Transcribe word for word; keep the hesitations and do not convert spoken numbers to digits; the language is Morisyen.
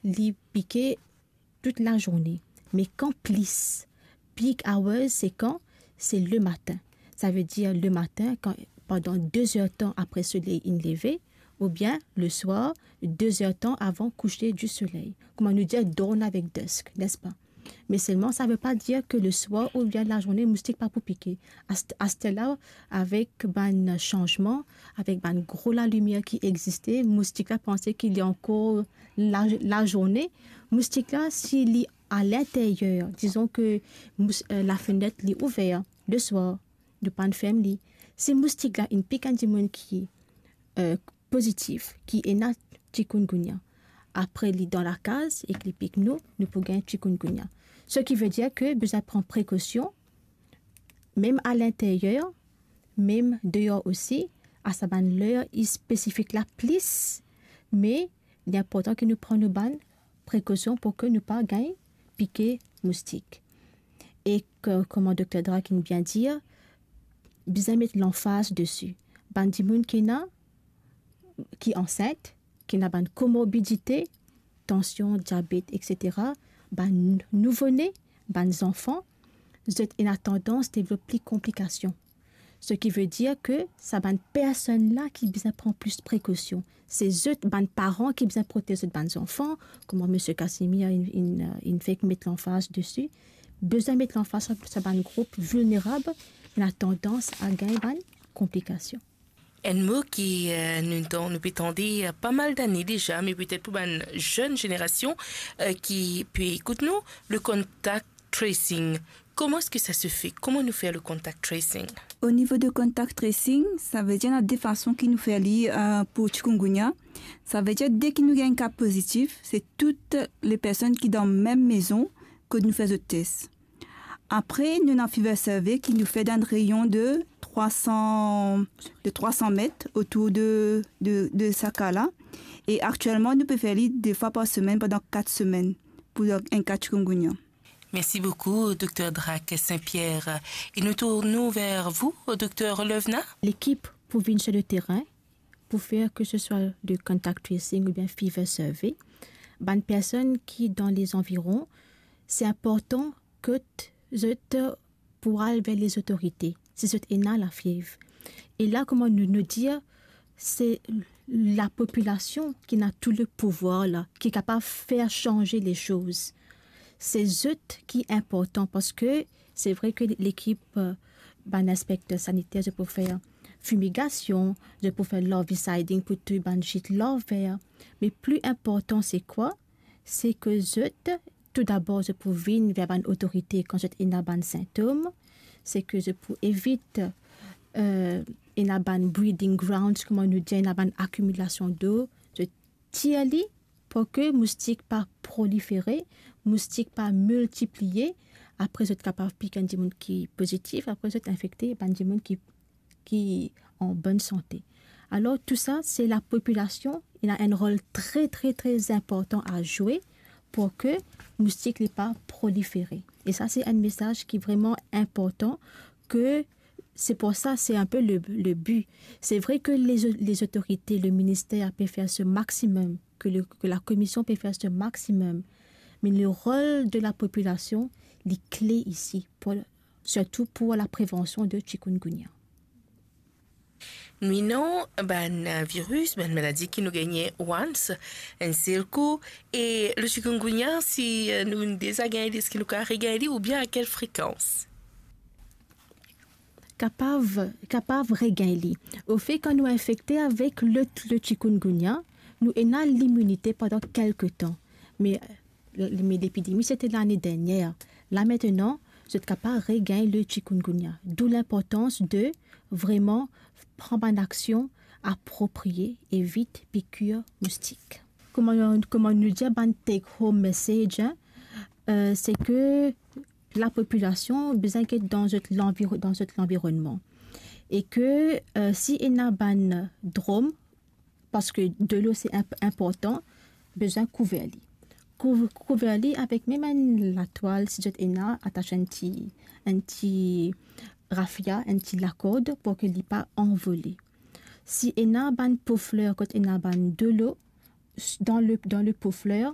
li pike tout lazourne. Me kan plis, peak hours, se kan? Se lematin. Savedir lematin, kan, pandan de-z-er tan apre soley inn leve, oubien leswar, de-z-er tan avan kouser di soley. Kouma nou dir, dawn avek dusk, nespa? Me selman, sa ve pa dir ke leswar oubien lazourne, moustik pa pou pike. Ast-, aster la, avek bann sanzman, avek bann gro lalimier ki existe, moustik la panse ki li ankor la, lazourne. Moustik la, si li alinteryer, dizon ke mous-, eh, lafenet li ouver leswar, nou pa'nn ferm li. Si moustik la inn pik enn dimoun ki, eh, pozitif, ki ena chikungunya, apre li dan lakaz ek li pik nou, nou pou gagn chikungunya. Seki ve dir ke bizin pran prekosion, mem alinteryer, mem deor osi, a sa bann ler spesifik la plis, me li inportan ke nou pran nou bann prekosion pou ke nou pa gagn pike moustik. Ek, eh, kouma Dokter Drak inn bien dir, bizin met lanfaz desi. Bann dimoun ki ena, ki ansint, ki ena bann komorbidite, tansion, diabet, etsetera, bann nouvone, bann zanfan, zot ena tandans devlop pli konplikasion. Seki ve dir ke sa bann personn la ki bizin pran plis prekosion. Se zot, bann paran ki bizin protez zot bann zanfan, kouma Misie Casimir inn, inn, inn fek met lanfaz desi, bizin met lanfaz sa, sa bann group vilnerab, ena tandans a gagn bann konplikasion. Enn mo ki, eh, nou tan-, nou pe tande, eh, pa mal dane deza, me petet pou bann zenn zenerasion, eh, ki pe ekout nou, le contact tracing. Comment est-ce que ça se fait? Comment nous faire le contact tracing? Au niveau de contact tracing, sa ve dir ena de fason ki nou fer li, eh, pou chikungunya. Sa ve dir, deki nou gagn ka pozitif, se tout le personn ki dan mem mezon kot nou fer zot tes. Apre, nou ena fever survey ki nou fer dan enn reyon de trwa san, de trwa san met otour de, de, de sa ka la. E aktielman, nou pe fer li de fwa par semenn pandan kat semenn pou enn ka chikungunya. Merci beaucoup, Docteur Drac Saint-Pierre. Et nous tournons vers vous, Docteur Lovena. Lekip pou vinn sur le terrain, pou fer ke se swa de contact tracing oubien fever survey, bann personn ki dan lezanviron, se inportan kot zot pou al ver lezotorite, si zot ena lafiev. E la, kouma nou, nou dir, se lapopilasion ki ena tou le pouvwar la, ki kapav fer sanze lesoz. Se zot ki inportan, parski se vre ke lekip, eh, bann inspekter saniter, zot pou fer fimigasion, zot pou fer larviciding pou touy bann zit larver. Me pli inportan se kwa? Se ke zot, tou dabor, zot pou vinn ver bann otorite kan zot ena bann sintom, se ke zot pou evit, eh, ena bann breeding grounds, kouma nou dir, ena bann akimilasion dlo, zot tir li pou ke moustik pa prolifere, moustik pa miltipliye, apre zot kapav pik enn dimoun ki pozitif, apre zot infekte bann dimoun ki, ki an bonn sante. Alor, tou sa, se lapopilasion, ena enn rol tre, tre, tre inportan a zwe pou ke moustik li pa prolifere. E sa, se enn mesaz ki vreman inportan, ke se pou sa, se inpe le, le bi. Se vre ke lez-, lezotorite, le minister pe fer so maximum, ke le, ke lakomision pe fer so maximum, me le rol de lapopilasion, li kle isi, pou, sirtou pou laprevansion de chikungunya. Nou ena bann viris, bann maladi ki nou gagne once, enn sel kou, e le chikungunya, si, eh, nou deza gagne li, eski nou kapav regagn li oubien a kel frekans? Kapav, kapav regagn li. Ofe, kan nou infekte avek le, le chikungunya, nou ena liminite pandan kelke tan. Me, me lepidemi, se te lane dernier. La, aster, zot kapav regagn le chikungunya. Dou linportans de vreman pran bann aksion apropriye, evit pikir moustik. Kouma, kouma nou dir, bann take home message, hein, eh, se ke lapopilasion bizin get dan zot lanviro-, dan zot lanvironnman. E ke, eh, si ena bann drom, parski delo se inp-, inportan, bizin kouver li. Kouv-, kouver li avek mem enn latwal, si zot ena, atas enn ti, enn ti rafia, enn ti lakord pou ke li pa anvole. Si ena bann po fler kot ena bann delo, s-, dan le, dan le po fler,